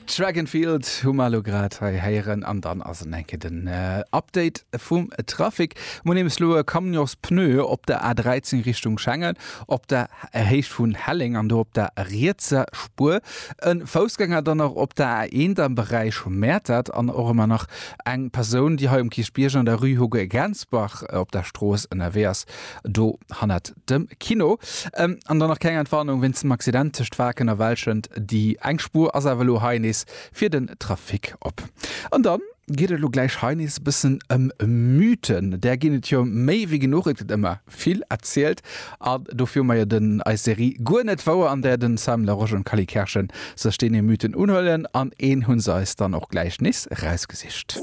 Dragonfield hu mer elo grad hei héieren an dann ass et eng Kéier den Update vum Trafic. Mer hunn nämlech elo e Camionspneu op der A13 Richtung Schengen op der Héicht vun Helleng an do op der rietser Spuer. E Foussgänger dann nach op der A1 am Beräich Mäertert an och ëmmer nach eng Persoun, déi hei um Kierchbierg an der Rue Hugo Gensbach op der Strooss ënnerwee ass, do hannert dem Kino. An dann nach keng Entwarnung wéinst dem Accident tëscht Waarken a Welschent. Déi eng Spuer ass awer elo hei nees fir den Trafic op. An dann geet et elo gläich hei nees e bëssen ëm Mythen. Där ginn et jo méi wéi genuch, et gëtt ëmmer vill erzielt an dofir hu mer jo den eis Serie Guer net wouer, an där den Sam Laroche an d'Cally Kerschen sech deene Mythen unhuelen an een hu se eis dann och gläich nees erausgesicht.